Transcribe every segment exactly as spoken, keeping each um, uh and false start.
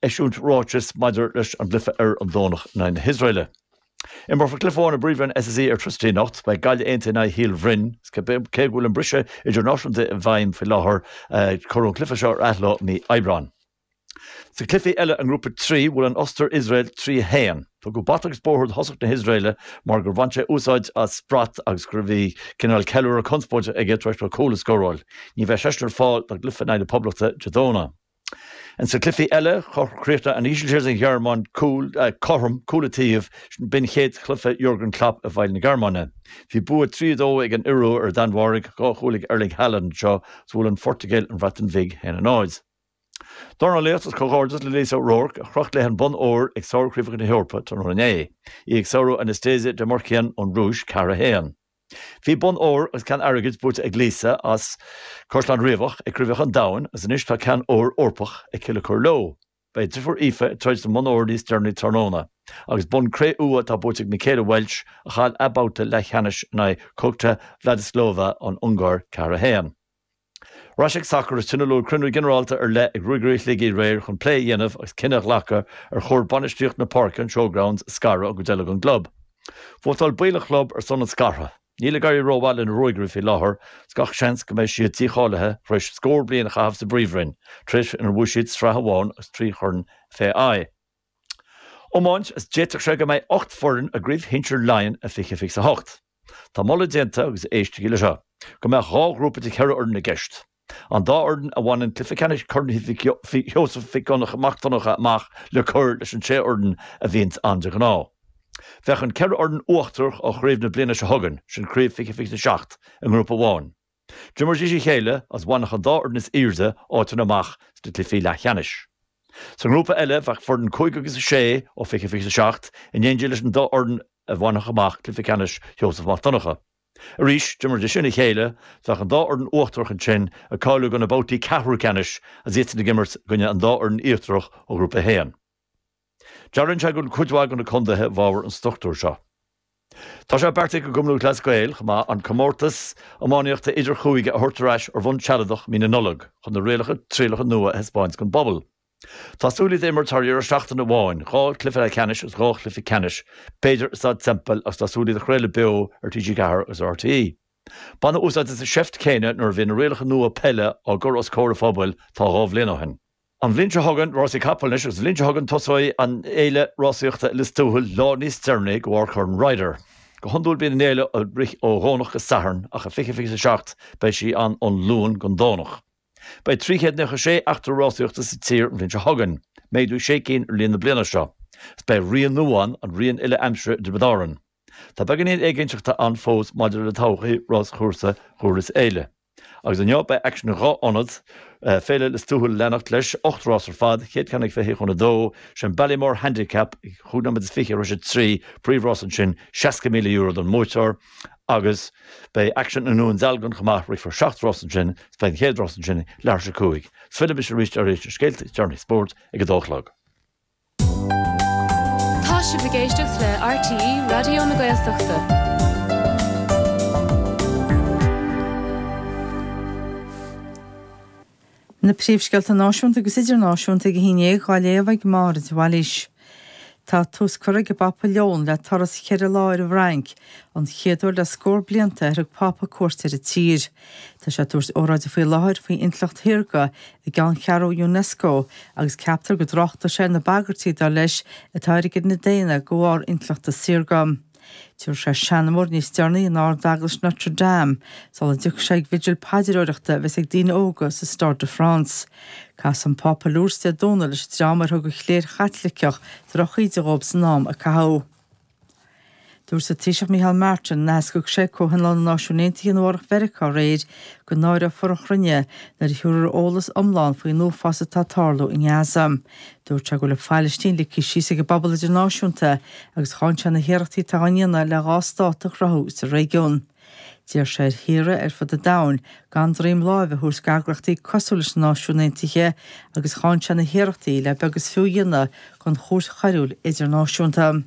eisiúint ráiteas maidir leis an gcluiche ar an Domhnach in aghaidh na hIosraeile. Imreofar cluiche amháin i bPríomhroinn SSE Airtricity anocht, beidh Gaillimh Aontaithe in aghaidh Shíol Bhroin, cé go bhfuil an briseadh idirnáisiúnta i bhfeidhm faoi láthair, cuireadh an cluiche seo ar athló mí Aibreáin. Sa chluiche eile i nGrúpa trí, bhuail an Ostair Iosrael trí a haon. Tugadh bata agus bóthar do thosach na hIosraeile mar gur bhain sé úsáid as brat agus go bhí cineál ceiliúradh conspóideach aige tar éis dó cúl a scóráil. Ní bheidh seisean ar fáil don gcluiche in aghaidh na Poblachta Dé Domhnaigh. In sa chluiche eile, chríochnaigh an Ísiltír is an Ghearmáin cúl cothrom, cúl an taobh, b'in chéad chluiche Jurgen Klopp i bhfeighil na Gearmáine. Bhí bua trí a dó ag an Iorua ar an Danmhairg, dhá chúl ag Erling Haaland anseo, is bhuail an Phortaingéil an Bhreatain Bhig a haon a náid. Dornálaíocht Is comhghairdeas le Lisa O'Rourke a chroch léi an bonn óir ag Sár-Chraobhacha na hEorpa tráthnóna inné, í ag sárú Anastasia Demirkhian ón Rúis, ceathair a haon. Bhí bonn óir agus ceann airgid buaite ag Lisa as Caisleán Riabhach ag Craobhacha an Domhain agus anois tá ceann óir Eorpach aici le cur leo. Beidh a deirfiúr Aoife ag troid don mbonn óir níos deireanaí tráthnóna. Agus bonn cré-umha atá buaite ag Michaela Walsh a chaill a babhta leathcheannais in aghaidh Kokta Vladislova ón Ungáir, ceathair a haon. Ar ais ag sacar is tionóladh cruinniú ginearálta ar leith ag Ruagairí Shligigh aréir chun plé a dhéanamh agus cinneadh a ghlacadh ar chóir bainistíocht na páirce, an Showgrounds, a scaradh ón gcuid eile den gclub. Vótáil baill an chlub ar son an scartha. Níl ag éirí rómhaith le na Ruagairí faoi láthair is gach seans go mbeidh siad dícháilithe tar éis scór bliain a chaitheamh sa bPríomhroinn, tréimhse inar bhuaigh siad sraith amháin agus trí chorn FAI. Iomáint is d'fhéadfadh sé go mbeidh ocht bhfoireann i gCraobh Shinsir Laighean i fiche fiche a hocht. Tá moladh déanta, agus éistigí le seo, go mbeadh dhá ghrúpa de cheithre fhoireann i gceist. An dá fhoireann a bhaineann cluiche ceannais Chorn Sheosaimh Mhic Mac Donncha amach le cur leis an sé fhoireann a bhíonns ann de ghnáth. Bheadh an ceithre fhoireann uachtarach ó chraobh na bliana seo chugainn, sin craobh fiche fiche a seacht, i ngrúpa amháin. D'imreoidís a chéile agus bhainfeadh an dá fhoireann is airde áiteanna amach sna cluichí leathcheannais. Sa ngrúpa eile bheadh foireann cúig agus a sé ó fiche fiche a seacht in éindí leis an dá fhoireann a bhainfeadh amach cluiche ceannais Sheosaimh Mac Donncha. Arís, d'imreoidís sin a chéile, bheadh an dá fhoireann uachtarach ansin ag cáiliú do na babhtaí ceathrú ceannais agus iadsan ag imirt i gcoinne an dá fhoireann íochtarach ó Ghrúpa a haon. Dealraíonn sé go bhfuil cuid mhaith de na contaetha i bhfabhar an struchtúir seo. Tá sé beartaithe ag an gCumann Lúthchleas Gael chomh maith an comórtas iománaíochta idir-chúige a thabhairt ar ais ar bhonn sealadach mí na Nollag chun na rialacha trialacha nua a thaispeáint don bpobal. Tá súil iad a imirt thar dheireadh seachtaine amháin, dhá chluiche leathcheannais agus dhá chluiche ceannais, b'fhéidir i Staid Semple agus tá súil iad a chraoladh beo ar T G ceathair agus ar R T E. Baineadh úsáid as an seift chéanna nuair a bhí na rialacha nua peile á gcur os comhair an phobail tá dhá bhliain ó shin. An bhliain seo chugainn, rásaí capall anois, agus an bhliain seo chugainn tosóidh an fhéile rásaíochta i Lios Tuathail lá níos deireanaí de bharr Chorn Ryder. Go hiondúil bíonn an fhéile ag rith ó Dhomhnach go Satharn ach i fiche fiche a seacht beidh sí ann ón Luan don Domhnach. Beidh trí chéad nócha sé eachtra rásaíochta sa tír an bhliain seo chugainn, méadú sé cinn ar líon na bliana seo. Is beidh rian nua ann, an rian uile-aimsire i dTiobraid Árann. Tá beagáinín éiginnteachta ann fós maidir le todhchaí ráschúrsa Dhúrlas Éile. Agus inniu beidh aicsean in dhá ionad, Féile Lios Tuathail ag leanacht leis, ocht rás ar fad, chéad cheann ag fiche chun a dó, sin Ballymore Handicap ag chúig nóiméad is fiche tar éis a trí, príomhrás ansin, seasca míle euro don mbuaiteoir. Agus beidh aicsean i nDún Dealgan chomh maith, rithfear seacht rás ansin, is beidh an chéad rás ansin ag leathuair tar éis a cúig. Is fillfidh mise arís tar éis na scéalta is deireanaí spóirt ag a dó a chlog. Tá sibh ag éisteacht le R T E Raidió na Gaeltachta. Na príomhscéalta náisiúnta agus idirnáisiúnta ag a haon déag á léamh ag Máire de Bhailís. Tá tús curtha ag an bPápa Leon le turas cheithre lá ar an bhFrainc, an chéad uair le scór blianta ar thug Pápa cuairt ar an tír. Tá sé ag tabhairt óráide faoi láthair faoi intleacht shaorga i gceanncheathrú Unesco agus ceaptar go dtráchtfaidh sé ar na bagairtí, dar leis, atá ar an gcine daonna de bharr intleachta saorga. Tabharfaidh sé seanmóir níos deireanaí in Ard-Eaglais Notre Dame sula dtiocfaidh sé ag bhigil paidreoireachta a bheas ag daoine óga sa Stade de France. Casfaidh an Pápa i Lourdes Dé Domhnaigh leis an dream ar thug an chléir Chaitliceach drochíde dhóibh san am a caitheadh. Dúirt an Taoiseach Micheál Martin in aitheasc a thug sé ag Comhthionól na Náisiún Aontaithe i Nua-Eabhrac Mheiriceá aréir go náireofar an chruinne nuair a thabharfar eolas iomlán faoin uafás atá ag tarlú i nGaza. Dúirt sé go bhfuil an Phailistín ligthe síos ag an bpobal idirnáisiúnta agus cháin sé na hiarrachtaí atá á ndéanamh le dhá stát a chruthú sa réigiún. D'iarr sé ar thíortha ar fud an domhain gan droim láimhe a thabhairt d'eagraíochtaí cosúil leis na Náisiúin Aontaithe agus cháin sé na hiarrachtaí le beag is fiú a dhéanamh den Chúirt Choiriúil Idirnáisiúnta.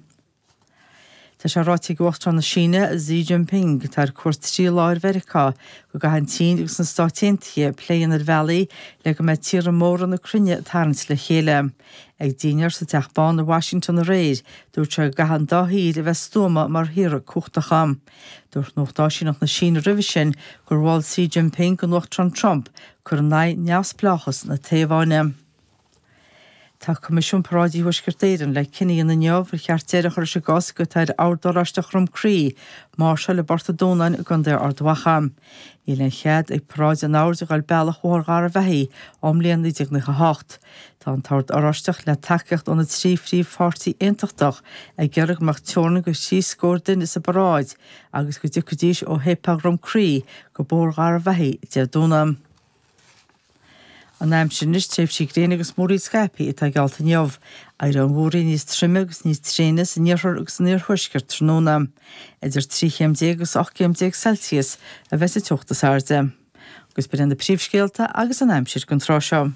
Tá sé ráite ag Uachtarán na Síne, Xi Jinping, atá ar cuairt trí lá ar Mheiriceá, go gcaithfidh an tSín agus na Stáit Aontaithe plé a dhéanamh ar bhealaí le go mbeidh tíortha móra na cruinne ag tarraingt le chéile. Ag dinnéar sa Teach Bán i Washington aréir, dúirt sé go gcaithfidh an dá thír a bheith stuama mar thíortha cumhachtacha. Dúirt Nuacht Áisíneacht na Síne roimhe sin gur mhol Xi Jinping don Uachtarán Trump cur in aghaidh neamhspleáchas na Téaváine. Tá Coimisiún Paráidí Thuaisceart Éireann le cinneadh a dhéanamh inniu ar cheart deireadh a chur leis an gcosc atá ar Ord Oráisteach Dhrom Crí máirseáil i bPort an Dúnáin i gContae Ard Mhacha. Níl aon chead ag paráid an Oird a ghabháil bealach Bhóthar Gharbhachaidh ón mbliain naoi déag nócha a hocht. Tá an tOrd Oráisteach le tacaíocht ó na trí phríomhpháirtí aontachtach ag iarraidh go mbeadh teorainn de thrí scór duine sa bparáid agus go dtiocfaidís ó Shéipéal Dhrom Crí go Bóthar Gharbhachaidh Dé Domhnaigh. An aimsir anois, tréimhsí gréine agus múraíl scaipthe atá geallta inniu. Éireoidh an mhúraíl níos troime agus níos tréine san iarthar agus san iarthuaisceart tráthnóna. Idir trí chéim déag agus ocht gcéim déag Celsius a bheas an teocht is airde. Agus b'in iad na príomhscéalta agus an aimsir don tráth seo.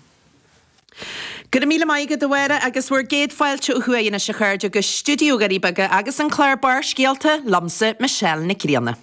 Go raibh míle maith agat a Mháire agus bhur gcéad fáilte ó thuaidh anois a chairde go stiúideo Dhoirí Beaga agus an clár Barrscéalta liomsa Michelle Nic Grianna.